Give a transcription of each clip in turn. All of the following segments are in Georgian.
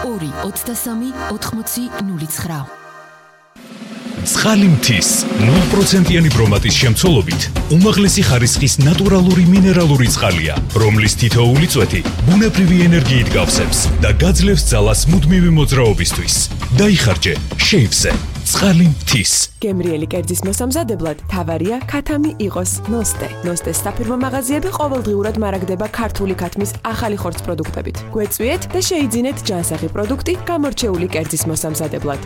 ორი 23 80 09. Წყალი მთის 0%-იანი ბრომატის შემცველობით უმაღლესი ხარისხის ნატურალური მინერალური წყალია, რომლის თითოეული წვეთი ბუნებრივი ენერგიით გავსებს და გაძლევს ძალას მუდმივი მოძრაობისთვის. დაიხარჯე შეივზე. წყალი მთის. გემრიელი კერძის მოსამზადებლად თავარია ქათამი იყოს ნოსტე. ნოსტეს საფირმო მაღაზიები ყოველდღიურად მარაგდება ქართული ქათმის ახალი ხორცს პროდუქტებით. გვეწვიეთ და შეიძინეთ ჯანსაღი პროდუქტი გამორჩეული კერძის მოსამზადებლად.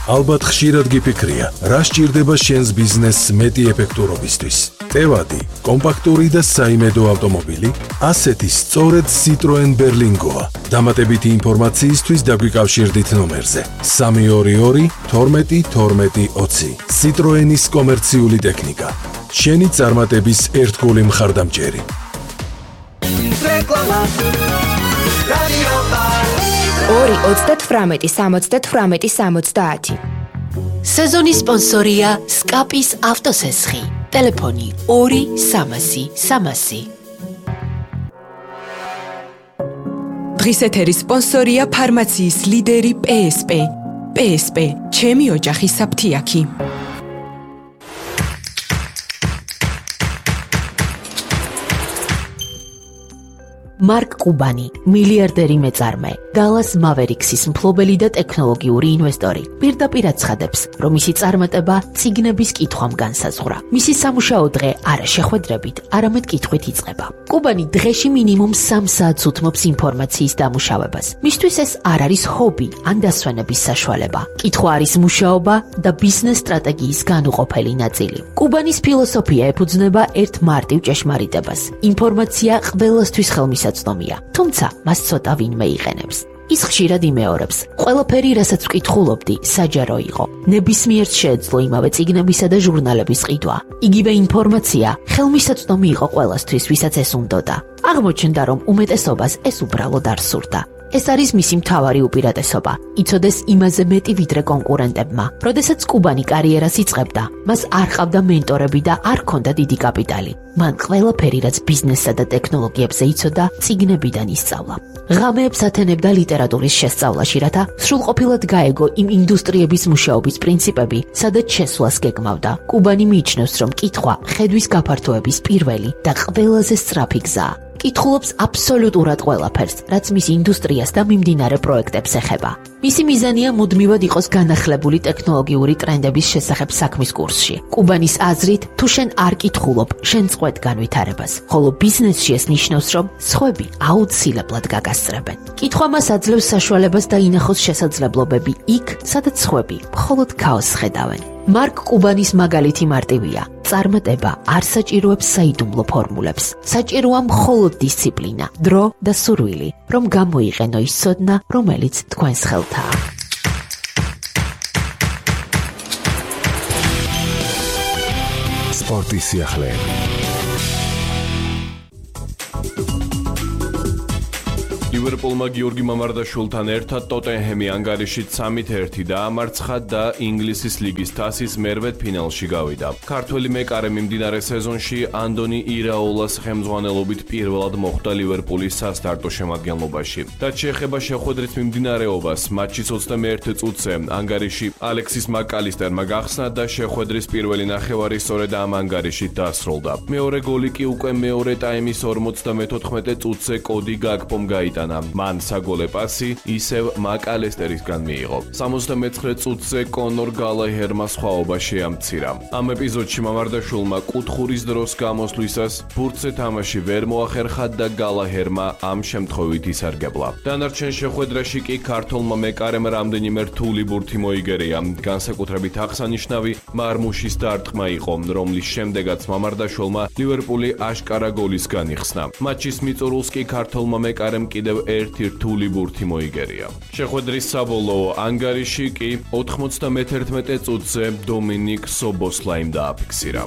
ალბათ ხშირად გიფიქრია, რა სჭირდება შენს ბიზნესს მეტი ეფექტურობისთვის. ტევადი, კომპაქტური და საიმედო ავტომობილი, ასეთი სწორედ Citroen Berlingoა. დამატებითი ინფორმაციისთვის დაგვიკავშირდით ნომერზე 322 12 12 20. Citroenis კომერციული ტექნიკა. შენი წარმატების ერთგული მხარდამჭერი. ორი 38 78 70. სეზონის სპონსორია სკაპის ავტოსესხი. ტელეფონი 2 300. დღის ეთერის სპონსორია ფარმაციის ლიდერი PSP. PSP, ჩემი ოჯახის საფთიაქი. მარკ კუბანი, მილიარდერი მეწარმე, Dallas Mavericks-ის მფლობელი და ტექნოლოგიური ინვესტორი. პირდაპირ აცხადებს, რომ მისი წარმატება წიგნების კითხვამ განსაზღვრა. მისი სამუშაო დღე არა შეხვედრებით, არამედ კითხვით იწყება. კუბანი დღეში მინიმუმ 3 საათს უთმობს ინფორმაციის დამუშავებას. მისთვის ეს არ არის ჰობი ან დასვენების საშუალება. კითხვა არის მუშაობა და ბიზნეს სტრატეგიის განუყოფელი ნაწილი. კუბანის ფილოსოფია ეფუძნება ერთ მარტივ ჭეშმარიტებას. ინფორმაცია ყველასთვის ხელმისაწვდომია, თუმცა მას ცოტა ვინმე იყენებს. ის ხშირად იმეორებს, ყველაფერი, რასაც ვკითხულობდი, საჯარო იყო. ნებისმიერს შეეძლო იმავე წიგნებისა და ჟურნალების ყიდვა. იგივე ინფორმაცია ხელმისაწვდომი იყო ყველასთვის, ვისაც ეს უნდოდა. აღმოჩნდა, რომ უმეტესობას ეს უბრალოდ არ სურდა. ეს არის მისი მთავარი უპირატესობა. იცოდეს იმაზე მეტი ვიდრე კონკურენტებმა. როდესაც კუბანი კარიერას იწყებდა, მას არ ყავდა მენტორები და არ ჰქონდა დიდი კაპიტალი. მან ყველაფერი, რაც ბიზნესსა და ტექნოლოგიებზე იცოდა, წიგნებიდან ისწავლა. ღამეებს ათენებდა ლიტერატურის შესწავლაში, რათა სრულყოფილად გაეგო იმ ინდუსტრიების მუშაობის პრინციპები, სადაც შესვლას გეგმავდა. კუბანი მიიჩნევს, რომ კითხვა ხედვის გაფართოების პირველი და ყველაზე სწრაფი გზაა. კითხულობს აბსოლუტურად ყველაფერს, რაც მის ინდუსტრიას და მიმდინარე პროექტებს ეხება. მისი მიზანია მუდმივად იყოს განახლებული ტექნოლოგიური ტრენდების შესახებ საქმის კურსში. კუბანის აზრით, თუ შენ არ კითხულობ, შენ წყვეტ განვითარებას, ხოლო ბიზნესში ეს ნიშნავს, რომ სხვები აუცილებლად გაგასწრებენ. კითხვა მას აძლევს საშუალებას დაინახოს შესაძლებლობები იქ, სადაც სხვები მხოლოდ ქაოსს ხედავენ. მარკ კუბანის მაგალითი მარტივია. წარმატება არ საჭიროებს საიდუმლო ფორმულებს. საჭიროა მხოლოდ დისციპლინა, დრო და სურვილი, რომ გამოიყენო ის ცოდნა, რომელიც თქვენს ხელთაა. სპორტის სიახლეები. ლივერპულმა გიორგი მამარდაშვილთან ერთად ტოტენჰემი ანგარიშით 3-1 დაამარცხა და ინგლისის ლიგის თასის მერვედ ფინალში გავიდა. ქართველი მეკარე მიმდინარე სეზონში ანდონი ირაოლას ხელმძღვანელობით პირველად მოხვდა ლივერპულის სასტარტო შემადგენლობაში. რაც შეეხება შეხვედრის მიმდინარეობას, მატჩის 21 წუთზე ანგარიში ალექსის მაკალისტერმა გახსნა და შეხვედრის პირველი ნახევარი სწორედ ამ ანგარიშით დასრულდა. მეორე გოლი კი უკვე მეორე ტაიმის 54 წუთზე კოდი გაკპომ გაიტანა. მან საგოლე პასი ისევ მაკალესტერისგან მიიღო. 79 წუთზე კონორ გალაჰერმა სხვაობა შეამცირა. ამ ეპიზოდში მამარდაშვილმა კუთხურის დროს გამოსვლისას ბურთზე თამაში ვერ მოახერხა და გალაჰერმა ამ შემთხვევით ისარგებლა. დანარჩენ შეხვედრაში კი ქართველმა მეკარემ რამდენიმე რთული ბურთი მოიგერია. განსაკუთრებით აღსანიშნავი მარმუშის დარტყმა იყო, რომლის შემდეგაც მამარდაშვილმა ლივერპული აშკარა გოლის განიხსნა. მატჩის მიწურულს კი ქართველმა მეკარემ კიდევ ერთი რთული ბურთი მოიგერია. შეხვედრის საბოლოო ანგარიში კი 91 წუთზე დომინიკ სობოსლაიმ დააფიქსირა.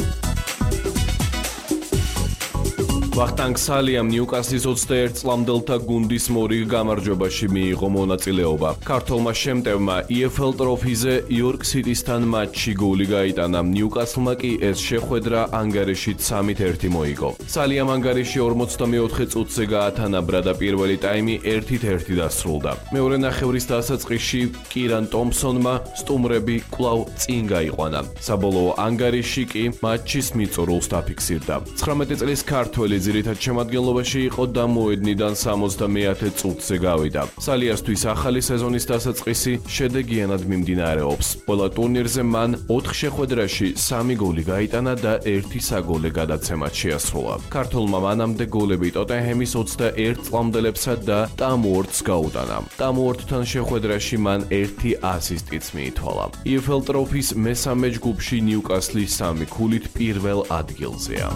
ვახტანგ სალიამ ნიუკასლის 21 წლამდელთა გუნდის მორიგ გამარჯვებაში მიიღო მონაწილეობა. ქართველმა შემტევმა EFL ტროფიზე იორკ სიტისთან მატჩში გოლი გაიტანა. ნიუკასლმა კი ეს შეხვედრა ანგარიშით 3-1 მოიგო. სალიამ ანგარიში 44 წუთზე გაათანაბრა და პირველი ტაიმი 1-1 დასრულდა. მეორე ნახევრის დასაწყისში კირან ტომსონმა სტუმრები კვლავ წინ გაიყვანა. საბოლოო ანგარიში კი მატჩის მიწურულს დაფიქსირდა. 19 წლის ქართველი ძირითად შემადგენლობაში იყო და მოედნიდან 70 წუთზე გავიდა. სალიასთვის ახალი სეზონის დასაწყისი შედეგიანად მიმდინარეობს. ყველა ტურნირზე მან 4 შეხვედრაში 3 გოლი გაიტანა და 1 საგოლე გადაცემაც შეასრულა. ქართველმა მანამდე გოლები ტოტენჰემის 21 წლამდელებსა და ტამუორტს გაუტანა. ტამუორტთან შეხვედრაში მან 1 ასისტიც მიითვალა. EFL ტროფის მესამე ჯგუფში ნიუკასლი 3 ქულით პირველ ადგილზეა.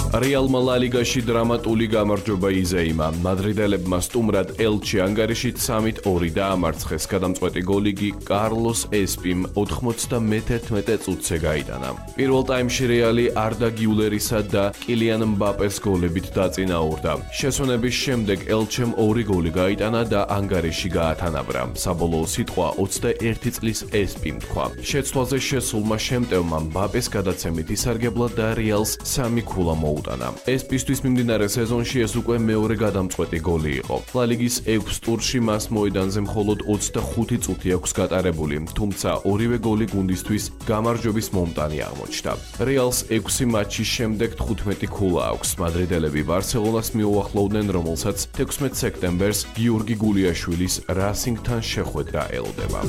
რეალმა ლა ლიგაში დრამატული გამარჯვება იზეიმა. მადრიდელებმა სტუმრად ელჩი ანგარიშით 3-2 დაამარცხეს. გადამწყვეტი გოლი კი კარლოს ესპიმ 91 წუთზე გაიტანა. პირველ ტაიმში რეალი არდა გიულერისა და კილიან მბაპეს გოლებით დაწინაურდა. შესვენების შემდეგ ელჩემ 2 გოლი გაიტანა და ანგარიში გაათანაბრა. საბოლოო სიტყვა 21 წლის ესპიმ თქვა. შეცვლაზე შესულმა შემტევმა მბაპეს გადაცემით ისარგებლა და რეალს 3 ქულა მოუტანა. ესპისთვის მიმდინარე სეზონში ეს უკვე მეორე გადამწყვეტი გოლი იყო. ლა ლიგის 6 ტურში მას მოედანზე მხოლოდ 25 წუთი აქვს გატარებული, თუმცა ორივე გოლი გუნდისთვის გამარჯვების მომტანი აღმოჩნდა. რეალს 6 მატჩის შემდეგ 15 ქულა აქვს. მადრიდელები ბარსელონას მიუახლოვდნენ, რომელსაც 16 სექტემბერს გიორგი გულიაშვილის რასინგთან შეხვედრა ელოდება.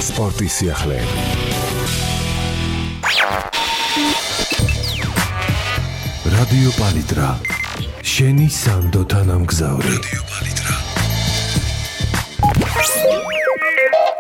სპორტის სიახლეები. რადიო პალიტრა. შენი სანდო თანამგზავრი. რადიო პალიტრა.